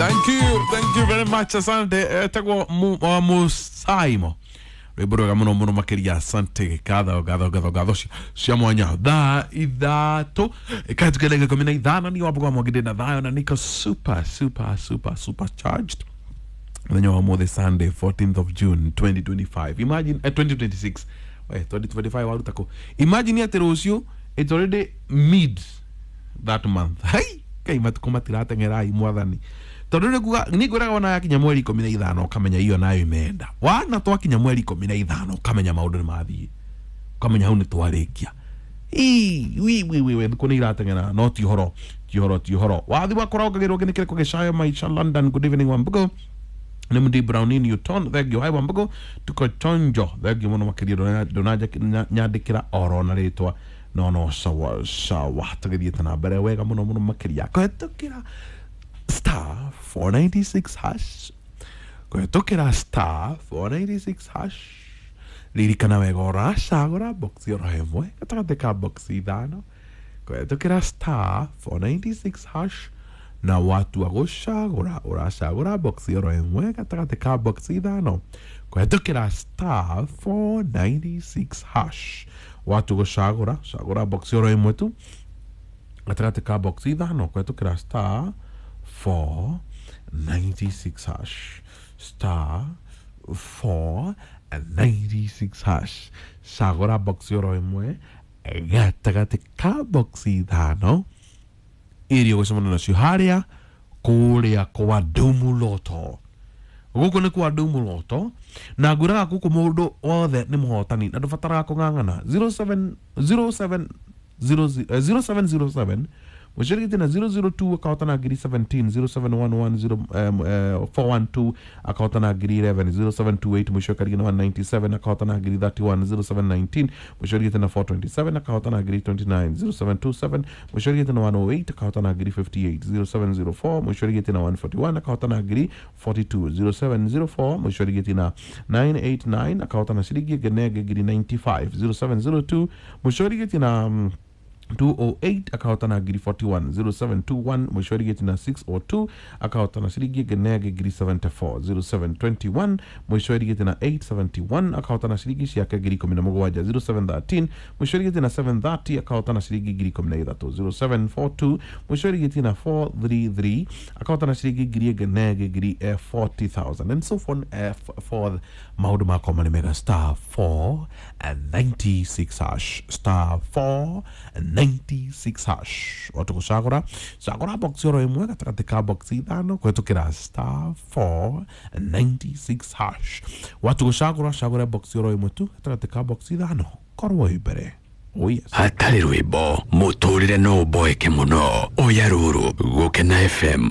Thank you, thank you very much. Asante. Etagwo Musaimo. Rwĩmbo rwega mũno mũno makĩria. Asante, gatho gatho gatho gatho cia mwanya. Thaa 3 ĩkahĩtũkia ndagĩka 15. Niĩ Wambugu wa Mwangi ndĩ na thayũ na niko super super super super charged mũthenya wa ũmũthĩ, Sunday, 14th of June 2025. Imagine, 2026. We, 2025 waruta kũ? Imagine atĩ rũciũ it's already mid that month. Hai kai, matukũ matirateng'erai mwathani, tondũ nĩ kuga nĩ ngwĩraga ona yakinya mweri 15 ũkamenya iyo nayo imeenda wana. Twakinya mweri 15 ũkamenya maũndũ nĩ mathiĩ, ũkamenya hau nĩ twarĩkia. Ii, wi wi wi wi, thikũ nĩ irateng'era, no ti ũhoro, ti ũhoro, ti ũhoro. Wathi wakwa ũrongagĩrwo nĩ kĩrĩko gĩcayo maisha London. Good evening, Wambugu. Nĩ Md Brownie Newton, thank you. Hi Wambugu, tuko chonjo, thank you mũno makĩria. Ndũnanyandĩkĩra oro na rĩtwa, no no sawa sawa, tũgĩthiĩte na mbere wega mũno mũno makĩria. Kũhetũkĩra star 496 hash, kũhetũkĩra star 496 hash. Ririkana wega, ũracagũra box oro ĩmwe gatagatĩ ka box 5 kũhetũkĩra star 496 hash, na watua gũcagũra ũracagũra box oro ĩmwe gatagatĩ ka box 5 kũhetũkĩra star 496 hash. Watua gũcagũra, cagũra box oro ĩmwe tu gatagatĩ ka box 5 kũhetũkĩra star 496 hash, star 496 hash. Cagũra box oro ĩmwe gatagatĩ ka box 5 iria ũgũcemania nacio harĩa kũrĩa kwa Dumu Lotto. Gũkũ nĩ kwa Dumu Lotto, na ngwĩraga gũkũ mũndũ wothe nĩ mũhotani na ndũbataraga kũng'ang'ana. 07 07 00 0707 mũcerigĩte na 002 akahotana ngiri 17, 07110 412 akahotana ngiri 11, 0728 mũico ĩkarigĩ na 197 akahotana ngiri 31, 0719 mũico ĩrigĩte na 427 akahotana ngiri 29, 0727 mũico ĩrigĩte na 108 akahotana ngiri 58, 0704 mũico ĩrigĩte na 141 akahotana ngiri 42, 0704 mũico ĩrigĩte na 989 akahotana ciringi ĩngĩ ngiri 95, 0702 mũico ĩrigĩte na 208 akahotana ngiri 41, 0721 mũico ĩrigĩte na 602 akahotana ciringi ĩngĩ ngiri 74, 0721 mũico ĩrigĩte na 871 akahotana ciringi ciake ngiri 17, 0713 mũico ĩrigĩte na 730 akahotana ciringi ngiri 13, 0742 mũico ĩrigĩte na 433 akahotana ciringi ngiri ĩngĩ ngiri 40,000 and so on forth. Maũndũ makwa marĩ mega. Star 496 hash, star 496 hash. Watu gũcagũra, cagũra box oro ĩmwe gatagatĩ ka box 5 kũhetũkĩra star 496 hash. Watu gũcagũra, cagũra box oro ĩmwe tu gatagatĩ ka box 5, korwo wĩ mbere. Oh yes. Hatarĩ rwĩmbo mũtũrĩre no ũmboeke mũno. Oya rũrũ Gũkena FM.